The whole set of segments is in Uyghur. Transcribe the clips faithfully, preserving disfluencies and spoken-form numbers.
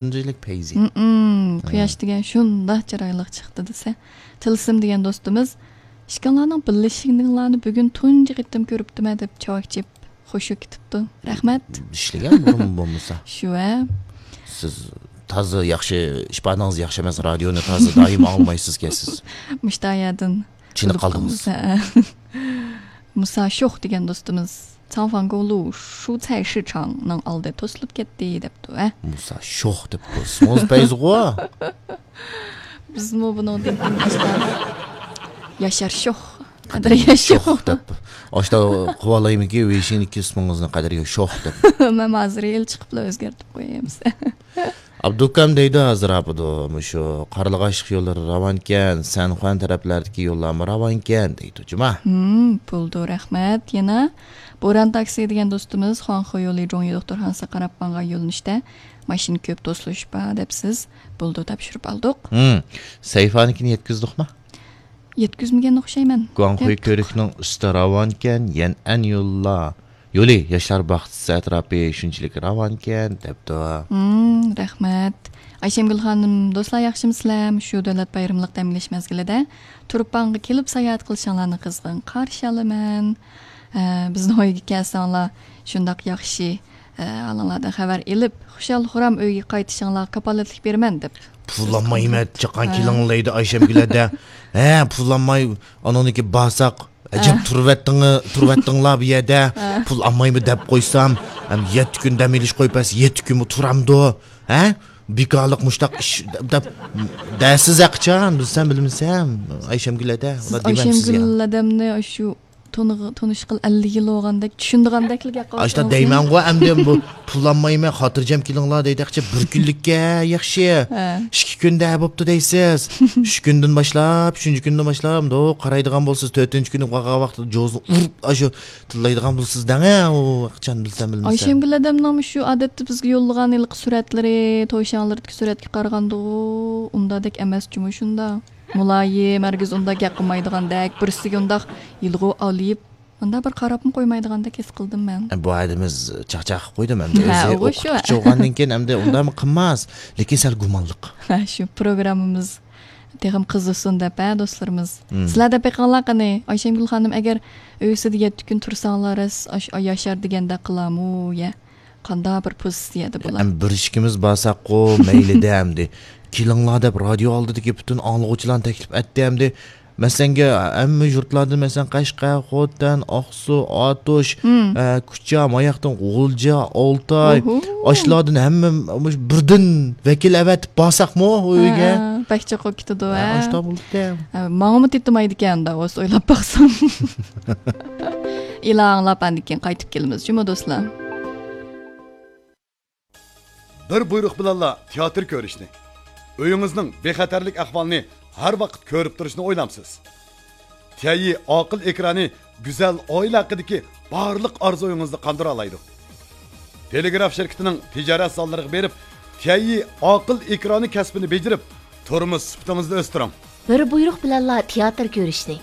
شۇنچىلىك پەيزى. ھىم، ھىم. قۇياش دېگەن شۇنداق چىرايلىق چىقتى دېسە. تىلسىم دېگەن دوستىمىز، ئىككىڭلارنىڭ بىللىشىشىڭلارنى بۈگۈن تۇنجى قېتىم كۆرۈپتىمەن دەپ چاۋاك چېلىپ خۇشۇ كېتىپتۇ. رەھمەت. ئىشلىگەن بۇرۇن بولمىسا. شۇ ھە. سىز تازا ياخشى، ئىپادىڭىز ياخشى ئەمەس، رادىيونى تازا دائىم ئاڭلىمايسىزكەن سىز. مۇشتايەدىن چېنىپ قالدىڭىز. ھە. مۇسا شوخ دېگەن دوستىمىز، 长颈公路蔬菜市场نىڭ ئالدى توسۇلۇپ كەتتى دەپتۇ، ھە؟ مۇسا شوخ دەپ قويسىڭىز پەيزىغۇ. بىزمۇ بۇنىڭدىن كېيىن ئاشتا ياشار شوخ، قەدىر ياشار شوخ دەپ. ئاشتا قوۋالايمىكى ۋېيشىنىدىكى ئىسمىڭىزنى قەدىر شوخ دەپ. مەن ھازىر ھېلى چىقىپلا ئۆزگەرتىپ قوياي ئەمىسە. ئابدۇكام دەيدۇ، ھازىر ئاپىدۇ، مۇشۇ قارلىغاچلىق يوللىرى راۋانكەن، سەنخۇەن تەرەپلەردىكى يوللارمۇ راۋانكەن دەيدۇ، جۇما. ھىم، بولىدۇ، رەھمەت. يەنە بوران تاكسى دېگەن دوستىمىز، خۇاڭخې يولى جۇڭيى دوختۇرخانىسىغا قاراپ ماڭغان يۆنىلىشتە ماشىنا كۆپ، توسۇلۇش بار دەپسىز. بولىدۇ، تاپشۇرۇپ ئالدۇق. ھىم، سەيفانىكىنى يەتكۈزدۇقما؟ يەتكۈزمىگەن ئوخشايمەن. گۇاڭخۇي كۆۋرۈكنىڭ ئۈستى راۋانكەن، يەنئەن يوللا. يولى، ياشلار باغچىسى ئەتراپى شۇنچىلىك راۋانكەن، دەپتۇ. ھىم، رەھمەت. ئايشەمگۈل خانىم، دوستلار ياخشىمۇسىلەر؟ شۇ دۆلەت بايرىملىق دەم ئېلىش مەزگىلىدە تۇرپانغا كېلىپ ساياھەت قىلىشىڭلارنى قىزغىن قارشى ئالىمەن. ھە، بىزنىڭ ئۆيگە كەلسەڭلار شۇنداق ياخشى، ھە، ھالىڭلاردىن خەۋەر ئېلىپ، خۇشال-خۇرام ئۆيگە قايتىشىڭلارغا كاپالەتلىك بېرىمەن، دەپ. پۇل ئالمايمەن، چاققان ھە. كېلىڭلار دەيدۇ ئايشەمگۈل ھەدە. ھە، پۇل ئالماي، ئانىڭدىكى بارساق، ئەجەب ھە. تۇرۇۋەتتىڭ-، تۇرۇۋەتتىڭلار بۇ يەردە. ھە. پۇل ئالمايمەن دەپ قويسام، ھەم يەتتە كۈن دەم ئېلىش قويۇپ بەرسە، يەتتە كۈنمۇ تۇرامدۇ؟ ھە؟ بىكارلىق مۇشتاق ئىش دەپ، دەپ دەرسىز ھەقىچان، بىلسەم بىلمىسەم، ئايشەمگۈل ھەدە، ئۇلار دېمەمسىز يا. ئايشەمگۈل ھەدەمنى شۇ تونۇغ-، تونۇشقىلى ئەللىك يىل بولغاندەك، چۈشىنىدىغاندەكلا گەپ قىلىۋاتىسىز. ئاشتا دەيمەنغۇ ئەمدى بۇ پۇل ئالمايمەن، خاتىرجەم كېلىڭلار دەيدىكچە بىر كۈنلۈككە ياخشى. ھە. ئىككى كۈندە بوپتۇ دەيسىز. ئۈچ كۈندىن باشلاپ، ئۈچىنچى كۈندىن باشلاپ، مۇنداق قارايدىغان بولسىز، تۆتىنچى كۈنى قالغان ۋاقىتتا جوزىنى ئۇرۇپ، ئاشۇ تىللايدىغان بولسىز دەڭە، ئۇ ھەقىچان بىلسەم بىلمىسەم. ئايشەمگۈل ھەدەمنىڭ شۇ ئادەتتە بىزگە يوللىغان ھېلىقى سۈرەتلىرى، توشاڭلىرىدىكى سۈرەتكە قارىغاندىغۇ، ئۇنداقدەك ئەمەس جۇمۇ شۇنداق. مۇلايىم، ھەرگىز ئۇنداق گەپ قىلمايدىغاندەك، بىرسىگە ئۇنداق يىلغۇ ئالىپ، ئۇنداق بىر قاراپمۇ قويمايدىغاندەك ھېس قىلدىم مەن. بۇ ئادىمىز چاقچاق قىلىپ قويدۇم ئەمدى. ھە، ئۆزى ئوقۇتقۇچى بولغاندىن كېيىن ئەمدى ئۇنداقمۇ قىلماس. لېكىن سەل گۇمانلىق. ھە، شۇ پروگراممىمىز تېخىمۇ قىزىقسۇن دەپ، ھە، دوستلىرىمىز. مم. سىلەر دەپ بېقىڭلار قېنى، ئايشەمگۈل خانىم، ئەگەر ئۆيىسىدە يەتتە كۈن تۇرساڭلار، راست ئاش-، ئاي ياشار دېگەندەك قىلامۇ، يە؟ قانداق بىر پوزىتسىيەدە بۇلار؟ ئەمدى بىر ئىككىمىز بارساققۇ مەيلىدە ئەمدى. كېلىڭلار دەپ رادىيو ئالدىدىكى پۈتۈن ئاڭلىغۇچىلارنى تەكلىپ ئەتتى ئەمدى. مەسىلەنگە، ھەممە يۇرتلاردىن، مەسىلەن، قەشقەر، خوتەن، ئاقسۇ، ئاتۇش، مم. ئە، كۇچا، ماياقتىن غۇلجا، ئالتاي، ئوھو. ئاشۇلاردىن ھەممە مۇشۇ بىردىن ۋەكىل ئەۋەتىپ بارساقمۇ ئۇ ئۆيگە؟ ھە، بەك چوقۇم كېتىدۇ، ھە، ھە. ئاشۇنداق بولىدىكەن. ھە، ماڭىمۇ تېتىمايدىكەن ئۇنداق بولسا، ئويلاپ باقسام. ئېلان ئاڭلاپ، ئاندىن كېيىن قايتىپ كېلىمىز، جۇمۇ دوستلار. بىر بۇيرۇق بىلەنلا تىياتىر كۆرۈشنى، ئۆيىڭىزنىڭ بىخەتەرلىك ئەھۋالىنى ھەر ۋاقىت كۆرۈپ تۇرۇشنى ئويلامسىز؟ تيەنيى ئاقىل ئېكرانى گۈزەل ئائىلە ھەققىدىكى بارلىق ئارزۇيىڭىزنى قاندۇرالايدۇ. تېلېگراف شىركىتىنىڭ تىجارەت زاللىرىغا بېرىپ، تيەنيى ئاقىل ئېكرانى كەسپىنى بېجىرىپ، تۇرمۇش سۈپىتىڭىزنى ئۆستۈرۈڭ. بىر بۇيرۇق بىلەنلا تىياتىر كۆرۈشنى،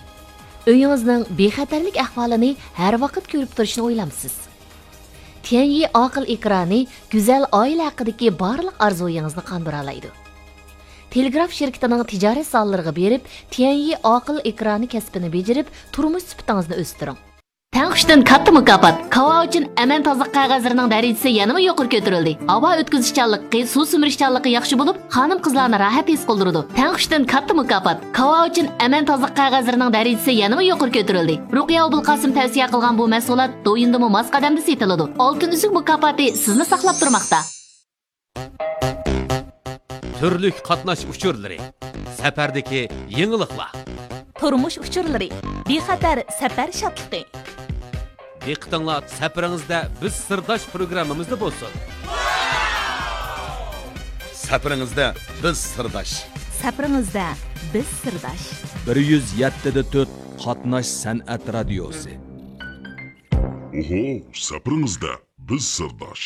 ئۆيىڭىزنىڭ بىخەتەرلىك ئەھۋالىنى ھەر ۋاقىت كۆرۈپ تۇرۇشنى ئويلامسىز؟ تيەنيى ئاقىل ئېكرانى گۈزەل ئائىلە ھەققىدىكى بارلىق ئارزۇيىڭىزنى قاندۇرالايدۇ. تېلېگراف شىركىتىنىڭ تىجارەت زاللىرىغا بېرىپ، تيەنيى ئاقىل ئېكرانى كەسپىنى بېجىرىپ، تۇرمۇش سۈپىتىڭىزنى ئۆستۈرۈڭ. تەڭ ئۈچتىن كاتتا مۇكاپات. كاۋا ئۈچۈن ئەمەن تازىلىق قەغەزلىرىنىڭ دەرىجىسى يەنىمۇ يۇقىرى كۆتۈرۈلدى. ھاۋا ئۆتكۈزۈشچانلىقى، سۇ سۈمۈرۈشچانلىقى ياخشى بولۇپ، خانىم-قىزلارنى راھەت ھېس قىلدۇرىدۇ. تەڭ ئۈچتىن كاتتا مۇكاپات. كاۋا ئۈچۈن ئەمەن تازىلىق قەغەزلىرىنىڭ دەرىجىسى يەنىمۇ يۇقىرى كۆتۈرۈلدى. رۇقىيە ئوبۇلقاسىم تەۋسىيە قىلغان بۇ مەھسۇلات دويۇندىمۇ ماس قەدەمدە سېتىلىدۇ. ئالتۇن ئۈزۈك مۇكاپاتى سىزنى ساقلاپ تۇرماقتا. تۈرلۈك قاتناش ئۇچۇرلىرى، سەپەردىكى يېڭىلىقلار. تۇرمۇش ئۇچۇرلىرى، بىخەتەر سەپەر شادلىقى. دىققىتىڭلار سەپىرىڭىزدە بىز سىرداش پروگراممىمىزدا بولسۇن. سەپىرىڭىزدە بىز سىرداش. سەپىرىڭىزدە بىز سىرداش. بىر يۈز يەتتە دە تۆت قاتناش سەنئەت رادىيوسى. ئوھو، سەپىرىڭىزدە بىز سىرداش.